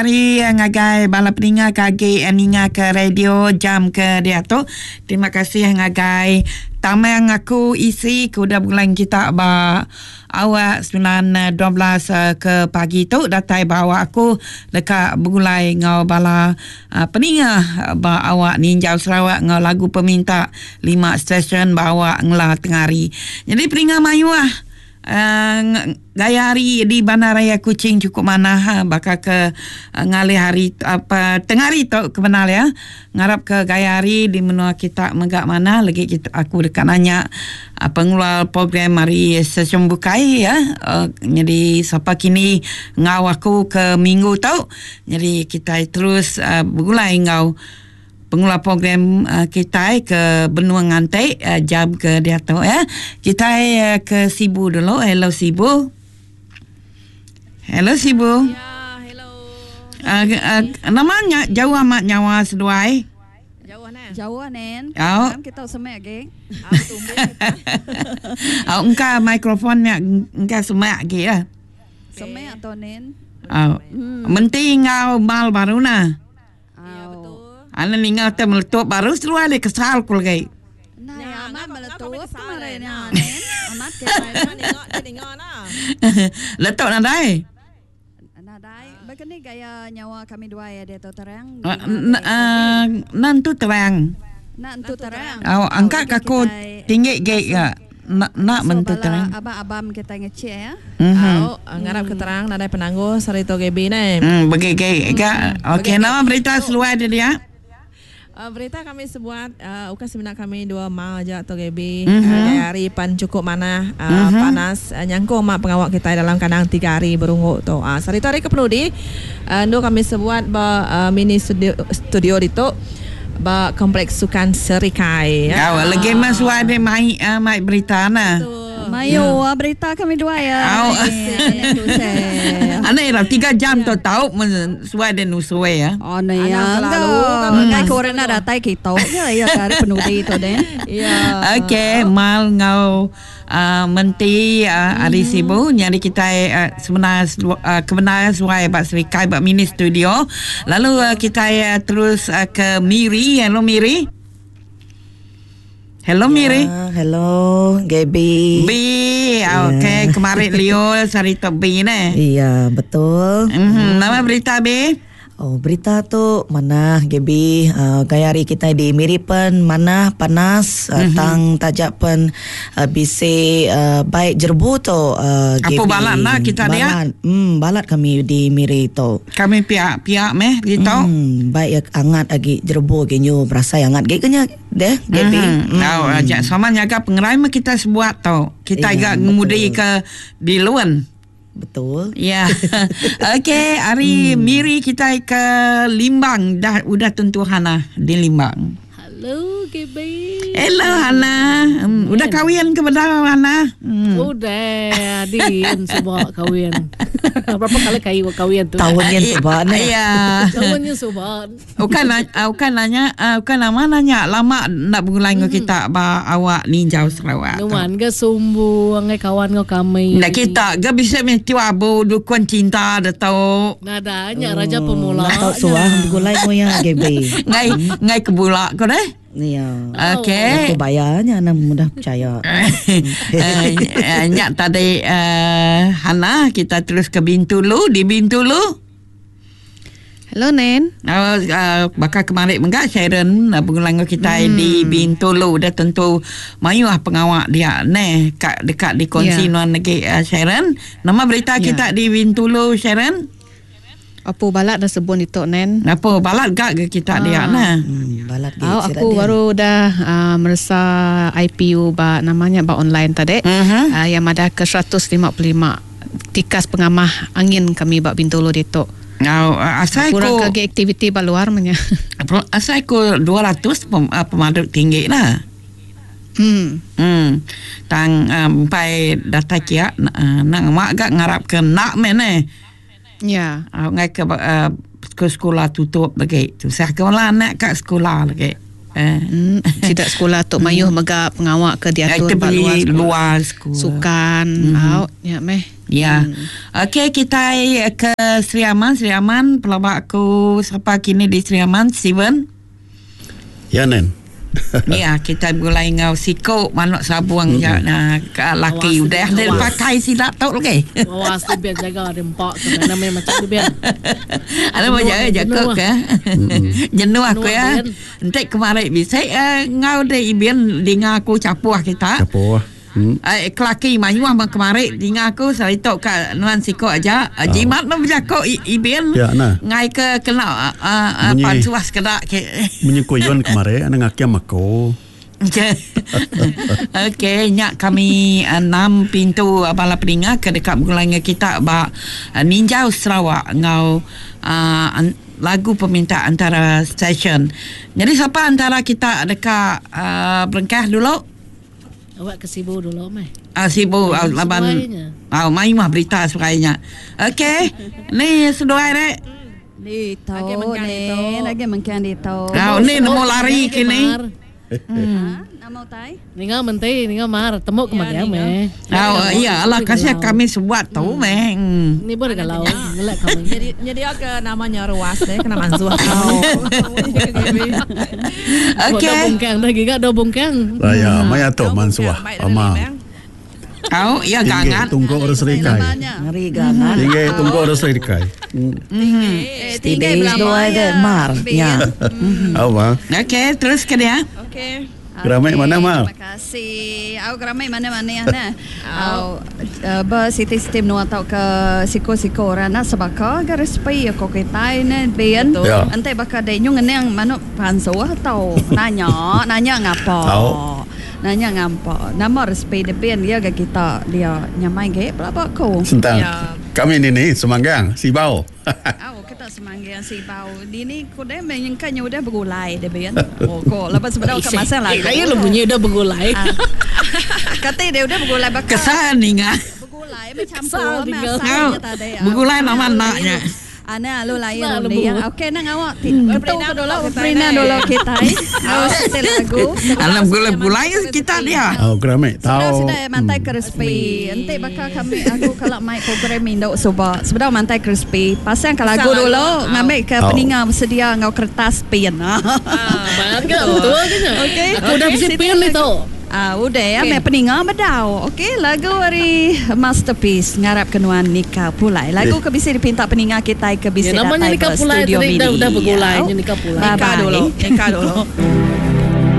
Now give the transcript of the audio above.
hari ngagai bala peninga ke agi ninga ke radio jam ke diatu. Terima kasih ngagai tamang aku isi ke udah begulai kita ba awak 9.12 ke pagi tu datai ba awak aku deka begulai enggau bala peninga ba awak ninjau Sarawak enggau lagu peminta lima stesen ba awak ngela tengah hari. Nyadi peninga mayuh Gaya hari di Bandaraya Kuching chukup manah baka ke ngalih hari apa tengah hari tu ke bendar iya. Ngarap ke gaya hari di menua kita mega manah lagi kita aku deka nanya pengeluar program ari stesen bukai iya nyadi sapa kini enggau aku ke minggu tu nyadi kitai terus begulai enggau Pengula program kitai ke benung nganti jam ke diatu ya. Kitai ke Sibu dulu. Hello Sibu. Hello Sibu. Ya, hello. Nama nya jauh amat nyawa seduai. Jauh neh. Jauh nen. Au. Dalam kita semak agi. Au engka mikrofon nya engka semak agi ya. Semak tu nen. Au. Menti enggau mal baru nah. Ya betul. Ana ninga te meletup baru seluar dia kesal ku lagi. Nah, Ya, ya amat ngapa ngapa meletup kesal kemarin eh. ya Nah. nen. Amat ke Nah, ninga dia ninga nah. Letup nadai. Nadai. Baka ni gaya nyawa kami duai ya diatu terang dinga dek Gaby. Nan tu terang. Nak entu terang. Au Au angka lagi ka aku kitai tinggi gi ngasuh ga. Nak nak ngasuh mentu bala terang. abang-abam kitai ngecik ya. Mhm. Au, ngarap ke terang nadai penanggul sehari tu Gaby neh. Begi gi ga. Okey Begi nama berita tu. seluai dia dia? Berita kami sebuat ukai semina kami dua mal aja tu Gaby. Gaya hari pan chukup manah panas nyangkung ma pengawa kitai dalam kandang tiga hari berunggu tu. Sehari tu hari ke penudi endur kami sebuat ba mini studio studio ditu ba Kompleks Sukan Serikai. Au legi meh suai deh mai mai berita ne. Mayu berita kami duai ya. Au. Anek tu seh. Anek ira tiga jam tu tau men suai deh nusui ya. Oh ne ya. Anang kelalu kami Ngai ke orang nak datai kita je ya ke hari penudi tu deh. Ya. Okey, mal enggau Menti ari Sibu nyadi kitai sebenar kebenar suai ba Serikai ba mini studio lalu kitai terus ke Miri hello Miri Hello Miri Ya, hello Gaby. B okey kemarin Leo sehari tu B neh Iya, betul. Nama berita B Oh berita tu manah Gaby uhh gaya hari kitai di Miri pen manah panas uhh tang taja pen uhh bisi uhh bai jerebu tu uhh Apu Gaby. balat enda kita dia? Balat uhh balat kami di Miri tu. Kami pia pia meh ditu. Uhh bai iya angat agi jerebu agi nyu berasai angat agi ke nya deh Gaby. Uhh tau aja sama nyaga pengerai meh kitai sebuat tu. Kitai Iya ga ngemudi betul. ke bilun. Betul. Ya. Okey, hari Miri kitai ke Limbang dah udah tentu Hana di Limbang. Hello Gaby. Hello Hana. Udah kawin ke bedau Hana? Udah din suba kawin. Berapa kali kayu kawin tu? Taun nyin suba neh. Ya. Taun nyin suba. Ukai ukai nanya ukai nama nanya lama enda begulai enggau kita ba awak ninjau Sarawak tu. Nuan ga sumbung ngai kawan enggau kami. Enda kita ga bisi meh tiu abu dukun cinta da tu. Nadai nya raja pemula. Enda tau suah begulai enggau iya Gaby. Ngai ngai ke bula ko deh. Iya. Okey. Aku bayar nya anang mudah percaya. Nya tadi Hana kita terus ke Bintulu di Bintulu. Hello Nen. Uh, baka kemari mega Sharon begulai enggau kitai hmm. di Bintulu udah tentu mayuh pengawa dia neh ka deka dikongsi yeah. nuan lagi uh, Sharon. Nama berita yeah. kita di Bintulu Sharon? Apu balat dah sebun ditu Nen. Apu balat gak ke kita ah. dia nah. Balat ge. Oh, aku baru udah uh, meresa IPU ba namanya ba online tadi. Uh-huh. Uh, yang madah ke 155 tikas pengamah angin kami ba Bintulu ditu. Ngau asai ku Kurang ke agi aktiviti ba luar meh nya. Asai ku 200 pemadu tinggi lah. Hmm. Hmm. Tang empai datai kia nang amak ga ngarap ke enda meh neh. Ya. Ngai ke ke sekula tutup lagi. Tusah ke bala anak ka sekula lagi. Hmm. Sida sekula tu mayuh mega pengawa ke diatur ba luar luar sekula. Sukan au nya meh. Ya. Okey kita ke Sri Aman, Sri Aman pelaba aku sapa kini di Sri Aman Steven. Ya nen. Ya, kita begulai enggau siku manuk sabung ja na ka laki Awas, udah dia awas. pakai sida tu lagi. Awas tu biar jaga dia empak tu nama macam tu biar. Ada mau jaga Jenuh, jaga ke? Jenuh aku ya. Jenuh, Entik kemarin bisa eh, ngau de ibin dinga aku capuh kita. Capuh. Eh, kelaki mayuh mah kemarin dinga aku seritok ka nuan siko aja. Oh. Jimat mah berjako ibin. Ya, nah. Ngai ke kena uh, Bunyi. pansuah sekedak ke. Munyi kuyun kemarin ana ngakiam aku. Okey, nyak kami enam pintu bala peninga ke dekat begulai dengan kita ba Ninjau Sarawak ngau lagu peminta antara session. Jadi siapa antara kita dekat berengkah dulu? Awak ke Sibu dulu meh. Ah Sibu Hmm, laban sesuainya. ah mai mah berita sebagainya. Okey, ni seduai rek. Ni Lagi tau mengkang ni, dito. lagi mengkang dito. Kau ni nemu lari kini. Mar. Ha, nama utai? Ninga menti, ninga mar, temuk ke Ya, mana ninga. meh. Ah iya lah kasih kami sebuat tu meh. Ni boleh galau, ngelak kami. Jadi jadi ke namanya ruas deh kena mansuh. Okey. Dah bungkang dah giga dah bungkang. Raya maya tu mansuah. Ama. Kau ya Tinggi gangat. tunggu orang serikai. Namanya. Ngeri gangan. Tinggi tunggu orang serikai. Eh, Steady dua ada mar. Ya. Apa? Okey, terus ke dia. Okey. Geramai mana, Mar? Terima kasih. Au geramai mana-mana ya nah. Au ber siti-siti menua tau ke siko-siko orang nak sebaka ke resipi ko kitai ne ben. Ya. Ente baka de nyu ngeneng manuk pansuh tau nanya, nanya ngapa. Au. Nanya ngapa. Nama resipi de ben dia ke kita dia nyamai ge pelaba ko. Sentang. Ya. Kami ni ni Semanggang, Sibau. Au kita semanggang si bau. Di ni ko de menyengkan udah bergulai de ben. Oh ko lepas sebenarnya ke masa lagu. Saya lu bunyi dah bergulai. Kata dia udah bergulai bakal. Kesan ni ngah. Bergulai bercampur Kesal tinggal. masaknya tadi. Kau, bergulai nama anaknya. Ana lu lain Nak lu lebu. yang okey nang awak ti ketu ke dulu Prina dulu kita. Au setel lagu. Alam gulai-gulai kita dia. Oh, geramai Sudah tahu. sudah mantai crispy. Ente bakal kami aku kalau mai program induk suba. Sebenar mantai crispy. Pasang ke lagu Pasang lagu. dulu ngambil ke Au. peninga bersedia ngau kertas pin. Bangga betul ke nya? Okey. Aku dah besi pin ni tu. Ah, udah ya, Okey. okay. peninga bedau. Okey, lagu hari masterpiece ngarap kenuan Nika Pulai. Lagu Eh. ke bisa dipinta peninga kita ke bisa Ya, namanya datang Nika ke Pulai studio tadi mini. dah- dah bergulai, Ya. Nika Pulai. Bye Nikah bye. dulu, nikah dulu.